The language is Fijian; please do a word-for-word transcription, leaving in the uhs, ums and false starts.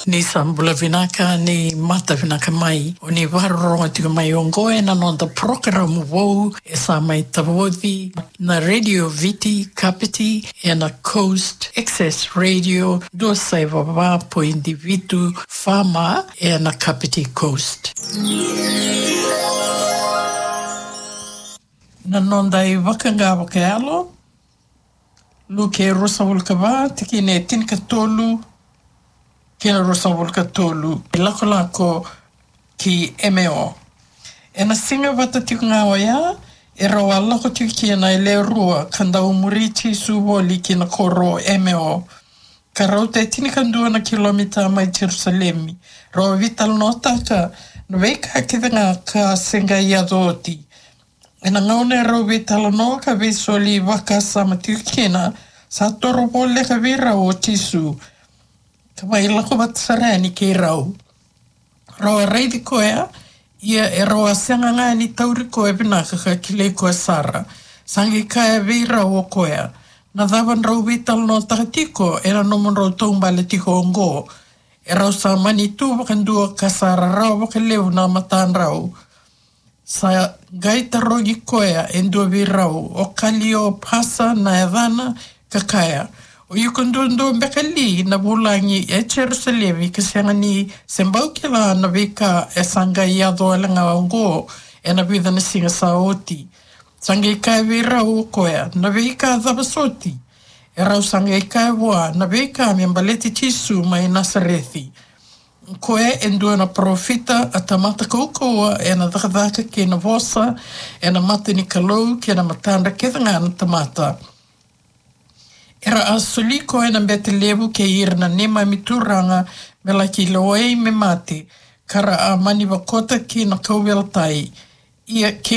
Ni sa bula vinaka, ni mata vinaka mai. O ni vakarorogo tiko mai oqo ena noda porokaramu vou e sa mai tavoci na Radio Viti Kapiti ena Coast Access Radio dua saiva va poidi vitu F M ena Kapiti Coast. Na noda iVakaqa Vakayalo, Luke ruasagavulu ka va, tikina e tinikatolu kei na ruasagavulu ka tolu. Ilakolako ki Emeo. Ena siga vata tiko ga oya, e rau a lako tiko kina e lewe rua ka dau muri Jisu voli ki na koro o Emeo, ka rauta e tinikadua na kilomita mai Jerusalemi. Rau a veitalanoataka na veika kece ga ka se qai yaco oti. Ena gauna e rau veitalanoa ka veisoli vakasama tiko kina, sa toro voleka vei rau o Jisu ka mai lako vata sara yani kei rau. Rau a raici koya, ia e rau a sega ga ni tauri koya vinaka ka kilai koya sara. Sa qai kaya vei rau o koya, na cava drau veitalanoataka tiko ena nomudrau taubale tiko oqo? E rau sa mani tu vakadua ka sa rarawa vakalevu na matadrau. Sa qai tarogi koya e dua vei rau, o Kaliopasa na yacana, ka kaya, o iko duadua beka li na vulagi e Jerusalemi ka sega ni se bau kila na veika e sa qai yaco wale ga oqo ena vica na siga sa oti? Sa qai kaya vei rau o koya, na veika cava soti? E rau sa qai kaya vua, na veika me baleti Jisu mai Nasareci. Koya e dua na parofita, a tamata kaukauwa ena cakacaka kei na vosa ena mata ni Kalou kei na matadra kece ga na tamata. Era a soli koya na bete levu kei ira na neimami turaga me laki lewai me mate, ka ra a mani vakota ki na kauveilatai. Ia